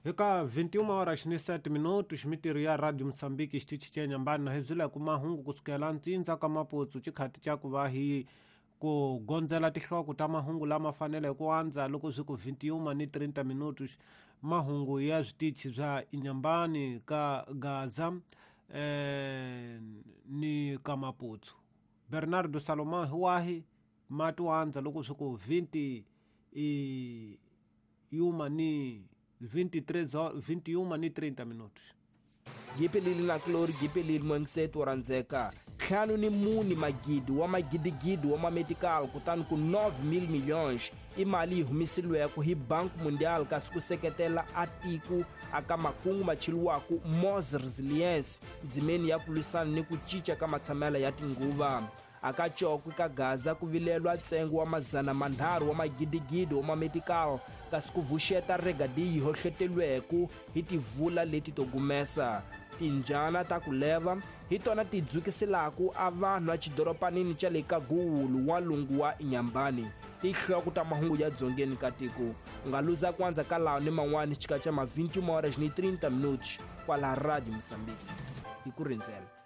Eka 21 horas ni 7 minutos mitirho ya Radio Mozambique xitichi xa Nyambani na hi byela ku mahungu kusukela ntsindza ka Maputsu xikhati xa ku va hi ku gondzela tinhloko ta mahungu lama fanele ku andza loko swi ku 21 ni 30 minutos mahungu ya switichi swa Inyambani ka Gaza ni ka Maputsu. Bernardo Salomão hi wahi mati wandza loko swi ku 20 i yuma ni 23 21 ni 30 minutos. Gipelili na Glory Gipelili Mwengiseto wa ntlhanu ni mune magidi wa magidigidi wa mamedical kutani ku 9,000 milhões i mali yi humesiliweke hi Banco Mundial kasi ku seketela a tiko aka makungu macheliwaku Mos Resilience ndzimeni ya ku lwisana ni ku cinca ka matshamelo ya tinguva. Aka Cokwe ka Gaza ku vilelwa ntsengo wa 300 wa magidigidi wa mamedical kasi ku vuxeta regadi yi hohletelweke hi tivula leti to gumesa. Timbyana ta ku leva hi tona ti dzukiselaku a vanhu exidoropanini xa le Kagulu n'walungu wa Inyambani. Tinhloko ta mahungu ya dzongeni ka tiko u nga luza ku andza ka lawa ni man'wani xika xa ma 21 horas ni 30 minutos kwala Radio Mozambique hi ku rindzela.